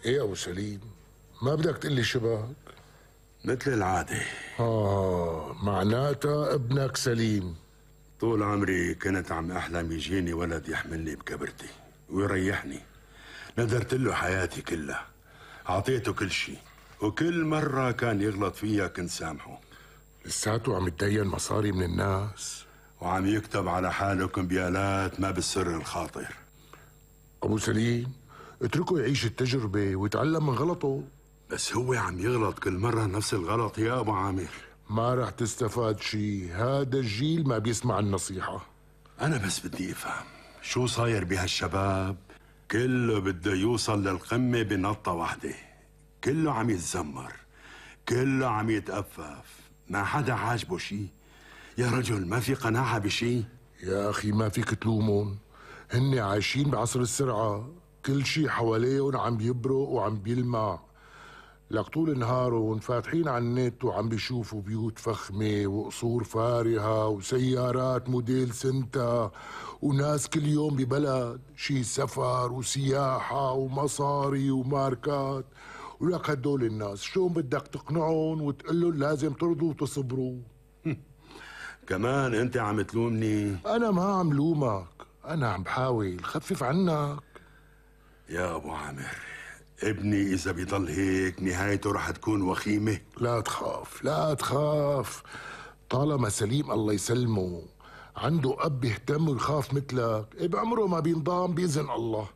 ايه ابو سليم، ما بدك تقلي شبك؟ مثل العادة. معناتها ابنك سليم. طول عمري كنت عم أحلم يجيني ولد يحملني بكبرتي ويريحني. ندرت له حياتي كلها، أعطيته كل شيء، وكل مرة كان يغلط فيها كنت سامحه. لساته عم يتدين مصاري من الناس وعم يكتب على حاله كمبيالات ما بالسر الخاطر. ابو سليم اتركه يعيش التجربة ويتعلم من غلطه. بس هو عم يغلط كل مرة نفس الغلط يا أبو عامر. ما رح تستفاد شي، هذا الجيل ما بيسمع النصيحة. أنا بس بدي أفهم شو صاير بهالشباب، كله بده يوصل للقمة بنطة واحدة، كله عم يتذمر، كله عم يتأفف، ما حدا عاجبه شي. يا رجل ما في قناعة بشي. يا أخي ما فيك تلومهم، هن عايشين بعصر السرعة، كل شي حواليهم عم يبرق وعم بيلمع. لك طول نهارهم فاتحين على النت وعم بيشوفوا بيوت فخمة وقصور فارهة وسيارات موديل سنتا، وناس كل يوم ببلد شي سفر وسياحة ومصاري وماركات. ولك هدول الناس شلون بدك تقنعهم وتقلهم لازم ترضوا وتصبروا؟ كمان انت عم تلومني؟ انا ما عم لومك، انا عم بحاول خفف عنك. يا ابو عامر، ابني اذا بيضل هيك نهايته رح تكون وخيمة. لا تخاف لا تخاف، طالما سليم الله يسلمه عنده اب بيهتم ويخاف مثلك، بعمره ما بينضام باذن الله.